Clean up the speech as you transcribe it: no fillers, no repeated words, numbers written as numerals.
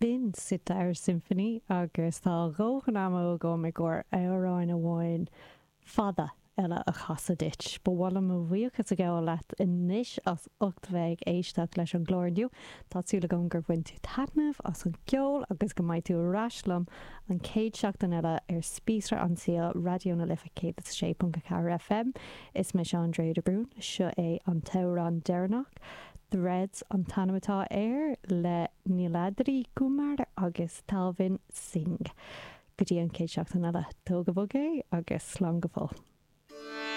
Binn Sitar Symphony agus tá a dhóthain ama agam i gcomhair amhráin amháin fada eile a chasadh duit. Ba mhaith liom mo bhuíochas a ghabháil leat anois as ucht bheith ag éisteacht leis an gclár inniu. Tá súil agam gur bhain tú taitneamh as an gceol agus go mbeidh tú ar ais liom an chéad seachtain eile ar Spíosra an tSaoil, Raidió na Life 106.4 FM. Is mise Andrea de Brún. Seo é an t-amhrán deireanach. Threads an t-ainm atá air, le Niladri Kumar agus Talvin Singh. Go dtí an chéad seachtain eile, tóg go bog é agus slán go fóill.